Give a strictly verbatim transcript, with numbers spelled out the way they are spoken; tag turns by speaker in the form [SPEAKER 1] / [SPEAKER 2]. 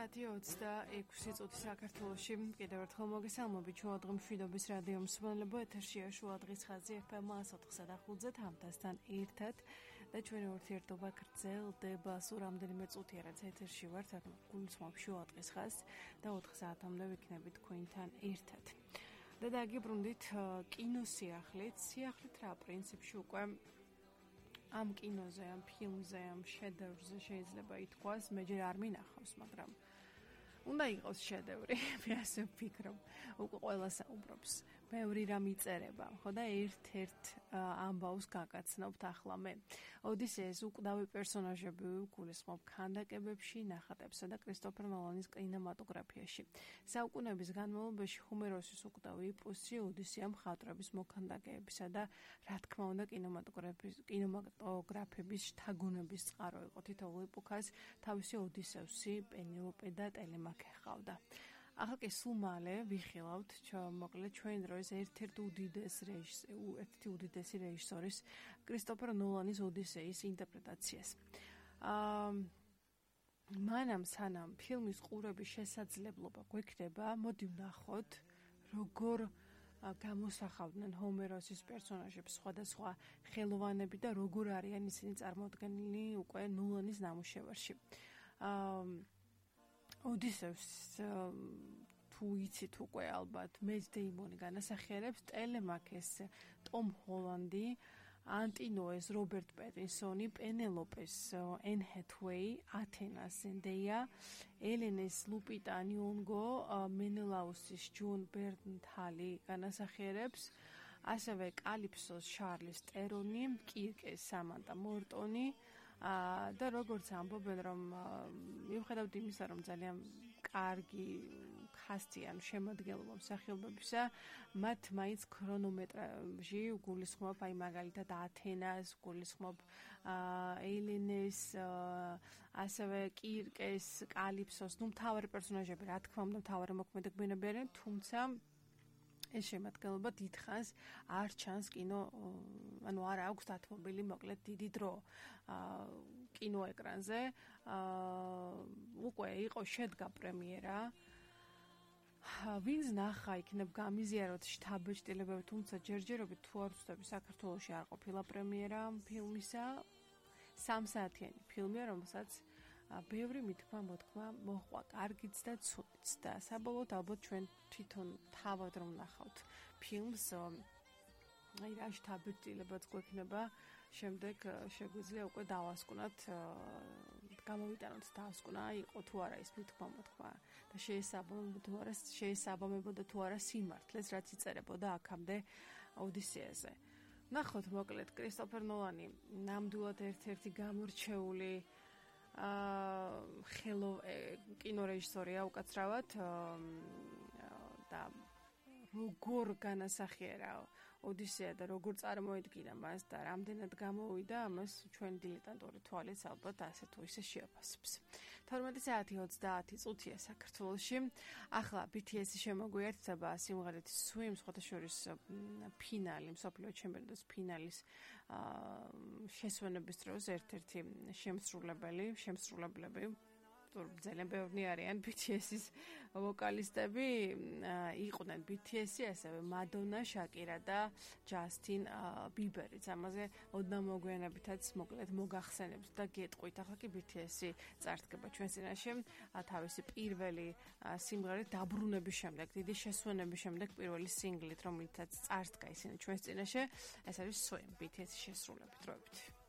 [SPEAKER 1] საათი ოცდაექვსი წუთი საქართველოში. კიდევ ერთხელ მოგესალმებით შუადღე მშვიდობის რადიო მსმენელებო, ეთერშია შუადღის ხაზი ეფ ემ εκατო ოთხსა და ხუთზე თამთასთან ერთად და ჩვენი ურთიერთობა გრძელდება სულ რამდენიმე წუთია, რაც ეთერში ვართ, გულისხმობ შუადღის ხაზს და ოთხ საათამდე ვიქნებით თქვენთან ერთად. და დაგიბრუნდით კინოსიახლით, სიახლით რა პრინციპში უკვე ამ კინოზე, ამ ფილმზე, ამ შედევრზე შეიძლება ითქვას, მე ჯერ არ მინახავს, მაგრამ უნდა იყოს შედევრი, მე ასე ვფიქრობ. უკვე ყველა საუბრობს, ბევრი რამ იწერება, ხო და ერთ-ერთ ამბავს გაგაცნობთ ახლა მე. ოდისეის უკვდავი პერსონაჟები ვგულისხმობ ქანდაკებებში, ნახატებსა და კრისტოფერ ნოლანის კინემატოგრაფიაში. საუკუნეების განმავლობაში ჰომეროსის უკვდავი ეპოსი ოდისეა მხატვრების მოქანდაკეებისა და რა თქმა უნდა კინემატოგრაფის კინემატოგრაფების შთაგონების წყარო იყო. თითოეულ ეპოქას თავისი ოდისევსი, პენელოპე და ტელემაქე ჰყავდა. ახლა კი სულ მალე ვიხილავთ, მოკლედ ჩვენი დროის ერთ-ერთ უდიდეს რეჟისორის, ერთ-ერთი უდიდესი რეჟისორის კრისტოფერ ნოლანის ოდისეის ინტერპრეტაციას. აა მანამ სანამ ფილმის ყურების შესაძლებლობა გვექნება, მოდი ვნახოთ, როგორ გამოსახავდნენ ჰომეროსის პერსონაჟებს სხვადასხვა ხელოვანები და როგორ არიან ისინი წარმოდგენილი უკვე ნოლანის ნამუშევარში. აა ოდისევს თუ იცით უკვე ალბათ მეც დეიმონი განასახიერებს, ტელემაქეს ტომ ჰოლანდი, ანტინოეს რობერტ პეტინსონი, პენელოპეს ენ ჰეთვეი, ათენას ზენდეია, ელენეს ლუპიტა ნიონგო, მენელაუსის ჯონ ბერნთალი განასახიერებს, ასევე კალიფსოს შარლის ტერონი, კირკეს სამანტა მორტონი და როგორც ამბობენ, რომ მიუხედავად იმისა, რომ ძალიან კარგი კასტი ან შემადგენლობა მსახიობებისა, მათ მაინც ქრონომეტრაჟი გულისხმობ, აი მაგალითად ათენას, გულისხმობ ელენეს, ასევე კირკეს, კალიფსოს, ნუ მთავარი პერსონაჟები, რა თქმა უნდა, მთავარი მოქმედებები არიან, თუმცა ეს შემადგენლობა დიდხანს არ ჩანს კინო, ანუ არ აქვს დათმობილი მოკლედ დიდი დრო კინოეკრანზე. უკვე იყო შედგა პრემიერა. ვინც ნახა იქნებ გამიზიაროთ შთაბეჭდილებები, თუმცა ჯერჯერობით თუ არ ვცდები, საქართველოში არ ყოფილა პრემიერა ფილმისა. სამსაათიანი ფილმია, რომელსაც ბევრი მითქმა მოთქმა მოჰყვა, კარგიც და ცუდიც და საბოლოოდ ალბათ ჩვენ თვითონ თავად რომ ნახავთ ფილმს, აი რა შთაბეჭდილებაც გვექნება, შემდეგ შეგვიძლია უკვე დავასკვნათ, გამოვიტანოთ დავასკვნა, იყო თუ არა ის მითქმა მოთქმა და შეესაბამებოდა თუ არა, შეესაბამებოდა თუ არა სიმართლეს, რაც იწერებოდა აქამდე ოდისეაზე. ნახოთ მოკლედ კრისტოფერ ნოლანი ნამდვილად ერთ-ერთი გამორჩეული აა ხელო კინორეჟისორია უკაცრავად და როგორ განასახიერა ოდისეა და როგორ წარმოედგინა მას და რამდენად გამოვიდა, ამას ჩვენ დილეტანტური თვალით ალბათ ასე თუ ისე შეაფასებს. თორმეტი საათი ოცდაათი წუთია საქართველოში. ახლა ბი თი ესი შემოგვიერთდება სიმღერით Swim, სხვადასხვა ფინალი, მსოფლიო ჩემპიონატის ფინალის შესვენების დროს ერთ-ერთი შემსრულებელი, შემსრულებლები ძალიან ბევრი არიან ბი თი ესის ვოკალისტები, იყვნენ ბი თი ესი, ასევე მადონა, შაკირა და ჯასტინ ბიბერიც. ამაზე ოდნავ მოგვიანებითაც მოკლედ მოგახსენებთ და გეტყვით. ახლა კი ბი თი ესი წარდგება ჩვენ წინაშე თავისი პირველი სიმღერით დაბრუნების შემდეგ, დიდი შესვენების შემდეგ პირველი სინგლით, რომელიცაც წარდგა ისინი ჩვენ წინაშე. ეს არის Swim, ბი თი ესი შესრულებით, დროებით.